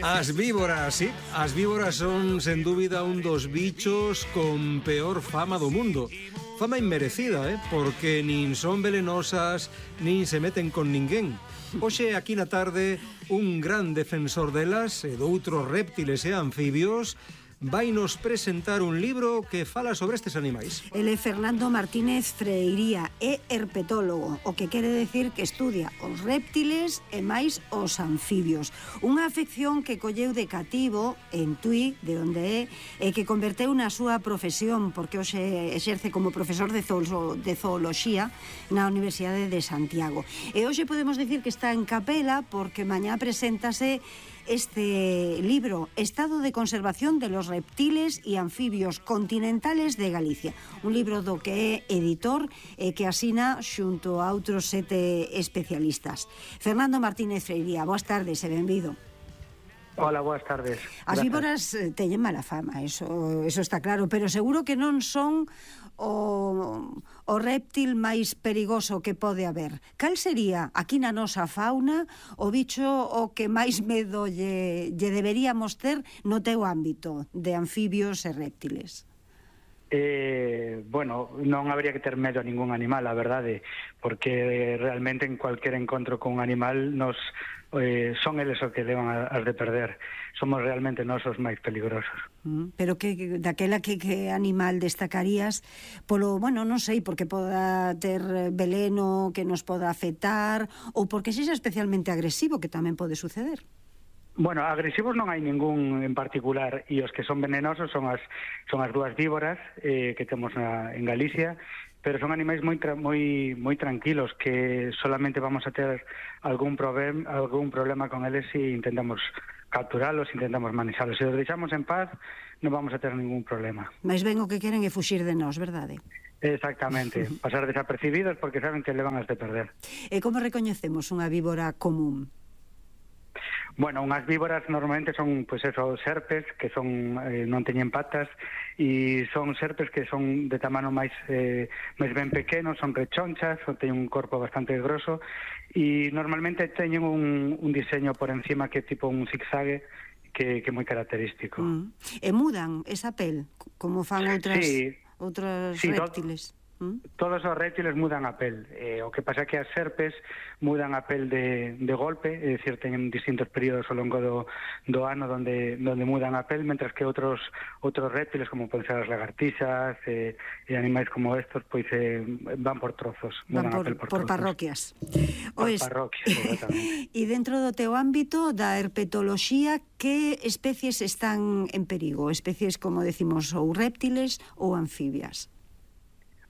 As víboras, sí. As víboras son, sen dúbida, un dos bichos con peor fama do mundo. Fama inmerecida, porque nin son velenosas, nin se meten con ninguén. Hoxe, aquí na tarde, un gran defensor delas e doutros réptiles e anfibios vai nos presentar un libro que fala sobre estes animais. Ele é Fernando Martínez Freiría, é herpetólogo, o que quere decir que estudia os réptiles e máis os anfibios. Unha afección que colleu de cativo en Tui, de onde é, e que converteu na súa profesión, porque hoxe exerce como profesor de zooloxía na Universidade de Santiago. E hoxe podemos decir que está en capela porque mañá preséntase este libro, Estado de conservación de los reptiles y anfibios continentales de Galicia. Un libro do que é editor e que asina xunto a outros 7 especialistas. Fernando Martínez Freiría, boas tardes e benvido. Hola, boas tardes. As víboras teñen mala fama, eso está claro, pero seguro que non son o réptil máis perigoso que pode haber. Cal sería, aquí na nosa fauna, o bicho o que máis medo lle deberíamos ter no teu ámbito de anfibios e réptiles? Bueno, non habría que ter medo a ningún animal, a verdade, porque realmente en cualquier encontro con un animal son eles o que levan as de perder. Somos realmente nós os máis peligrosos. Pero daquela que animal destacarías polo, bueno, non sei, porque poda ter veleno que nos poda afectar ou porque sexa especialmente agresivo, que tamén pode suceder? Bueno, agresivos non hai ningún en particular, e os que son venenosos son as dúas víboras que temos en Galicia, pero son animais moi tranquilos, que solamente vamos a ter algún problema con eles se intentamos capturalos, intentamos manexalos. Se os deixamos en paz, non vamos a ter ningún problema. Mais ben o que queren é fuxir de nós, verdade? Exactamente, pasar desapercibidos porque saben que levan as de perder. E como recoñecemos unha víbora común? Bueno, unhas víboras normalmente son, pois eso, serpes, que son non teñen patas, e son serpes que son de tamano máis ben pequenos, son rechonchas, teñen un corpo bastante grosso, e normalmente teñen un diseño por encima que é tipo un zigzague, que é moi característico. E mudan esa pel, como fan outros réptiles? Todos os réptiles mudan a pel. O que pasa é que as serpes mudan a pel de golpe, é dicir, teñen distintos períodos ao longo do ano onde mudan a pel, mentras que outros réptiles, como poden ser as lagartixas e animais como estos, pois van por trozos, mudan a pel por trozos. Parroquias. Por parroquias, exactamente. E dentro do teu ámbito da herpetoloxía, que especies están en perigo? Especies, como decimos, ou réptiles ou anfibias?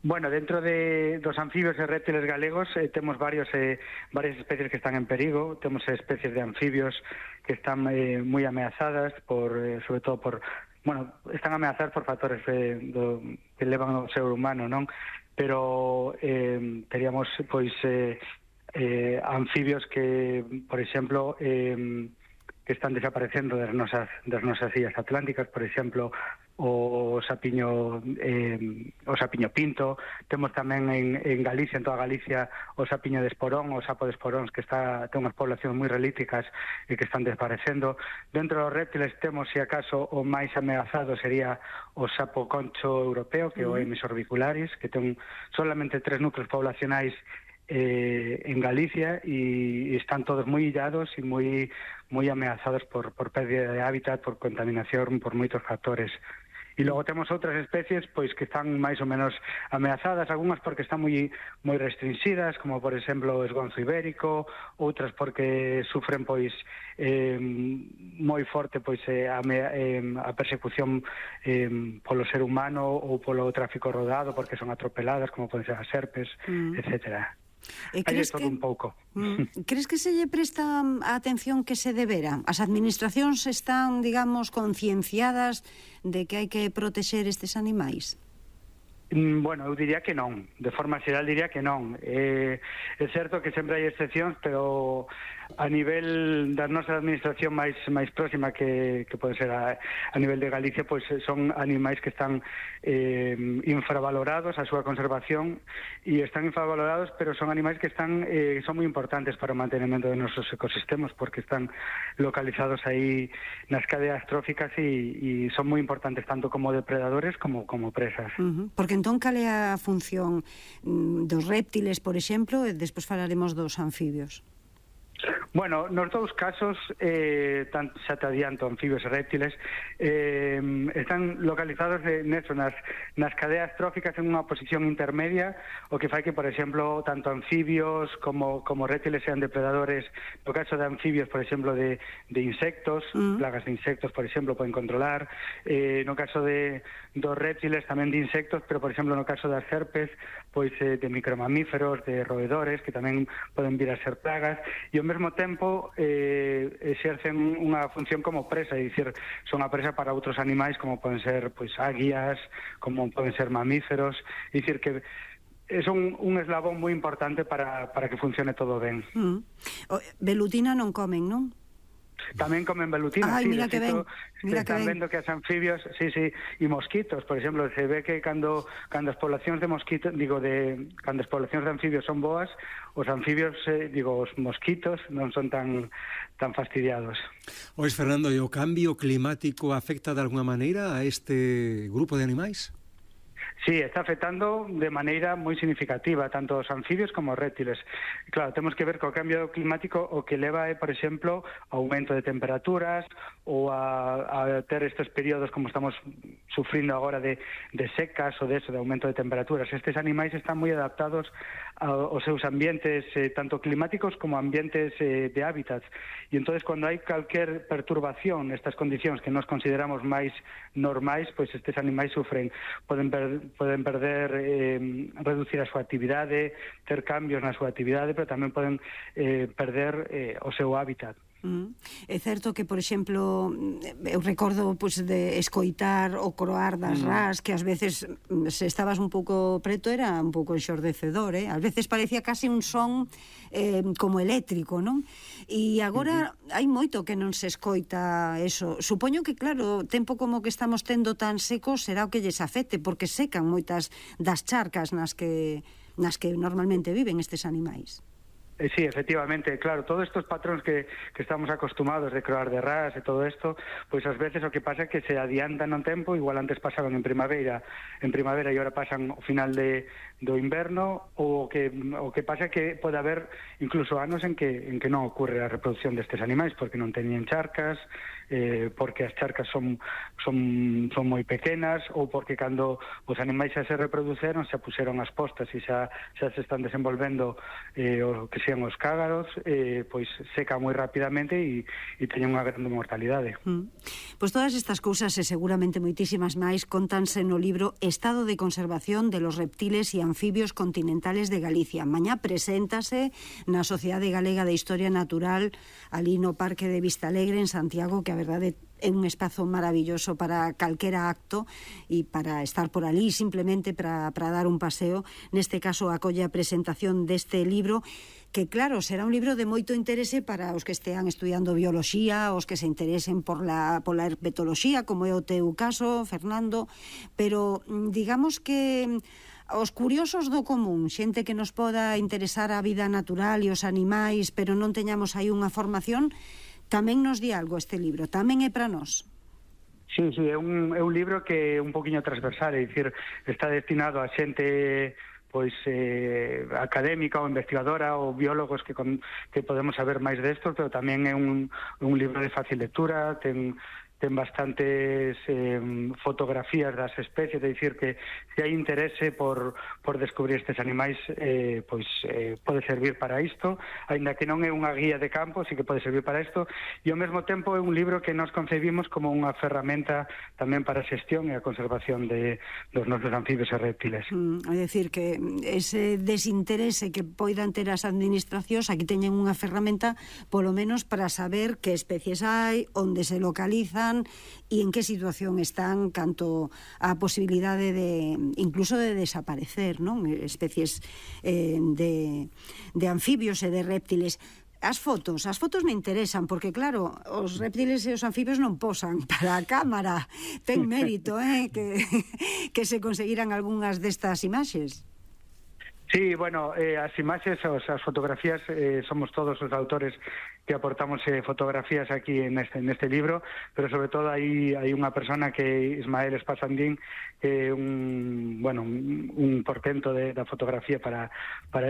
Bueno, dentro dos anfibios e réptiles galegos temos varias especies que están en perigo. Temos especies de anfibios que están moi ameazadas sobre todo están ameazadas por factores que levan ao ser humano, non? Pero teríamos anfibios que, por exemplo, que están desaparecendo das nosas illas atlánticas, por exemplo, o sapiño pinto. Temos tamén en Galicia, en toda Galicia, o sapiño de esporón, o sapo de esporóns, que ten unhas poblacións moi relíticas e que están desaparecendo. Dentro dos reptiles temos, se acaso, o máis ameazado sería o sapo concho europeo, que é o Emis orbicularis, que ten solamente 3 núcleos poblacionais en Galicia, e están todos moi illados e moi ameazados por pérdida de hábitat, por contaminación, por moitos factores. E logo temos outras especies pois que están máis ou menos ameazadas, algunhas porque están moi restringidas, como por exemplo o esgonzo ibérico, outras porque sufren moi forte a persecución polo ser humano ou polo tráfico rodado, porque son atropeladas, como poden ser as serpes, etcétera. Hai de todo un pouco. Crees que se lle presta a atención que se debera? As administracións están, digamos, concienciadas de que hai que protexer estes animais? Bueno, eu diría que non. De forma xeral diría que non. É certo que sempre hai excepcións, pero a nivel da nosa administración máis próxima que pode ser a nivel de Galicia, pois son animais que están infravalorados a súa conservación, e están infravalorados, pero son animais que son moi importantes para o mantenimento de nosos ecosistemas, porque están localizados aí nas cadeas tróficas e son moi importantes tanto como depredadores como presas. Porque entón cal é a función dos réptiles, por exemplo, e despois falaremos dos anfibios? Bueno, nos dous casos, xa te adianto, anfibios e réptiles, están localizados nas cadeas tróficas en unha posición intermedia, o que fai que, por exemplo, tanto anfibios como réptiles sean depredadores. No caso de anfibios, por exemplo, de insectos, plagas de insectos, por exemplo, poden controlar. No caso dos réptiles, tamén de insectos, pero, por exemplo, no caso das serpes, pois de micromamíferos, de roedores, que tamén poden vir a ser plagas, e ao mesmo tempo exercen unha función como presa, é dicir, son a presa para outros animais como poden ser pois águias, como poden ser mamíferos, é dicir que son un eslabón moi importante para que funcione todo ben. Velutina non comen, non? Tamén comen velutina. Ai, mira que ben. Se están vendo que as anfibios, e mosquitos, por exemplo, se ve que cando as poblacións de mosquitos, cando as poblacións de anfibios son boas, os anfibios, os mosquitos non son tan fastidiados. Ois, Fernando, e o cambio climático afecta de alguna maneira a este grupo de animais? Sí, está afectando de maneira moi significativa tanto os anfibios como os réptiles. Claro, temos que ver co cambio climático o que leva por exemplo, aumento de temperaturas ou a ter estes períodos como estamos sufrindo agora de secas ou de aumento de temperaturas. Estes animais están moi adaptados aos seus ambientes, tanto climáticos como ambientes de hábitats. E entonces, cando hai calquer perturbación nestas condicións que nos consideramos máis normais, pois estes animais sufren, poden perder, reducir a súa actividade, ter cambios na súa actividade, pero tamén poden perder o seu hábitat. É certo que, por exemplo, eu recordo de escoitar o croar das rás, que ás veces, se estabas un pouco preto, era un pouco enxordecedor, ás veces parecía casi un son como eléctrico, non? E agora hai moito que non se escoita eso. Supoño que, claro, o tempo como que estamos tendo tan seco será o que lles afecte, porque secan moitas das charcas nas que normalmente viven estes animais. Sí, efectivamente, claro, todos estos patróns que estamos acostumados de croar de ras e todo isto, pois ás veces o que pasa é que se adiantan no tempo, igual antes pasaban en primavera e agora pasan ao final do inverno, ou o que pasa é que pode haber incluso anos en que non ocurre a reproducción destes animais porque non teñen charcas, porque as charcas son moi pequenas, ou porque cando os animais xa se reproduceron xa puseron as postas e xa se están desenvolvendo o que sean os cágaros, pois seca moi rapidamente e teñen unha grande mortalidade. Pois todas estas cousas e seguramente moitísimas máis contanse no libro Estado de conservación de los reptiles e anfibios continentales de Galicia. Mañá preséntase na Sociedade Galega de Historia Natural ali no Parque de Vistalegre en Santiago, que a verdade é un espazo maravilloso para calquera acto e para estar por ali simplemente para dar un paseo. Neste caso acolle a presentación deste libro, que claro, será un libro de moito interese para os que estean estudiando bioloxía, os que se interesen por la herpetoloxía, como é o teu caso, Fernando, pero digamos que os curiosos do común, xente que nos poda interesar a vida natural e os animais, pero non teñamos aí unha formación, tamén nos di algo este libro, tamén é para nós. Sí, é un libro que é un poquinho transversal, é dicir, está destinado a xente pois académica ou investigadora ou biólogos que podemos saber máis destos, pero tamén é un libro de fácil lectura, ten bastantes fotografías das especies, é dicir que se hai interese por descubrir estes animais, pois pode servir para isto, aínda que non é unha guía de campo, sí que pode servir para isto, e ao mesmo tempo é un libro que nos concebimos como unha ferramenta tamén para a xestión e a conservación dos nosos anfibios e reptiles. É dicir que ese desinterese que poidan ter as administracións, aquí teñen unha ferramenta polo menos para saber que especies hai, onde se localizan e en que situación están canto a posibilidade incluso de desaparecer, non? Especies de anfibios e de réptiles. As fotos me interesan, porque claro, os reptiles e os anfibios non posan para a cámara. Ten mérito, que se conseguiran algunhas destas imaxes. Sí, bueno, as imaxes, as fotografías, somos todos os autores que aportamos fotografías aquí en este libro, pero sobre todo hai unha persona que Ismael Espasandín, que é un portento da fotografía para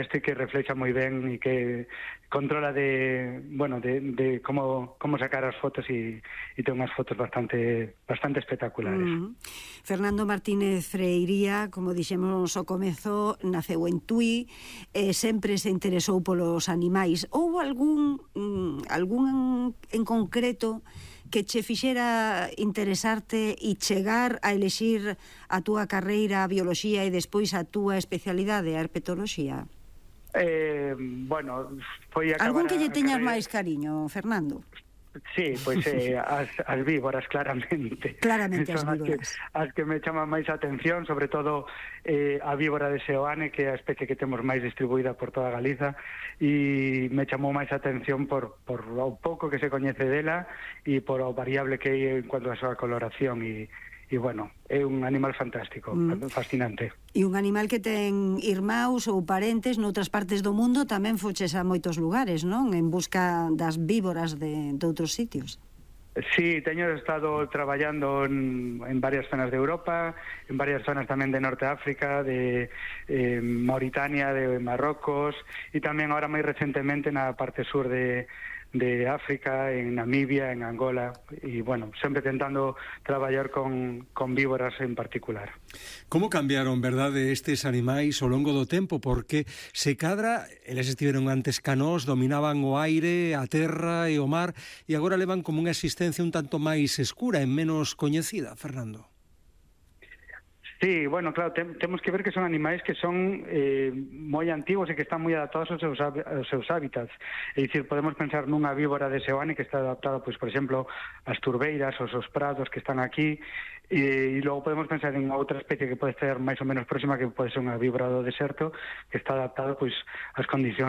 este, que reflexa moi ben e que controla de como sacar as fotos e ten unhas fotos bastante espectaculares. Fernando Martínez Freiría, como dixemos ao comezo, naceu en Tui, sempre se interesou polos animais. Houbo algún en concreto que che fixera interesarte e chegar a elexir a túa carreira a bioloxía e despois a túa especialidade, a herpetoloxía? Foi acabar... Algún que lle teñas máis cariño, Fernando? Sí, pois as víboras, claramente. Claramente as víboras. As que me chaman máis a atención, sobre todo a víbora de Seoane, que é a especie que temos máis distribuída por toda Galiza, e me chamou máis a atención por o pouco que se coñece dela e por o variable que é en cuanto a súa coloración e bueno, é un animal fantástico, fascinante. E un animal que ten irmáus ou parentes noutras partes do mundo, tamén foches a moitos lugares, non? En busca das víboras de outros sitios. Sí, teño estado traballando en varias zonas de Europa, en varias zonas tamén de Norte de África, de Mauritania, de Marrocos, e tamén ahora máis recentemente na parte sur de África, en Namibia, en Angola, e, bueno, sempre tentando traballar con víboras en particular. Como cambiaron, verdade, estes animais ao longo do tempo? Porque se cadra, eles estiveron antes canós, dominaban o aire, a terra e o mar, e agora levan como unha existencia un tanto máis escura e menos coñecida, Fernando. Sí, bueno, claro, temos que ver que son animais que son moi antigos e que están moi adaptados aos seus hábitats. É dicir, podemos pensar nunha víbora de Seoane que está adaptada, pois, por exemplo, ás turbeiras, aos prados que están aquí, e logo podemos pensar en outra especie que pode ser máis ou menos próxima, que pode ser unha víbora do deserto, que está adaptada, pois, ás condicións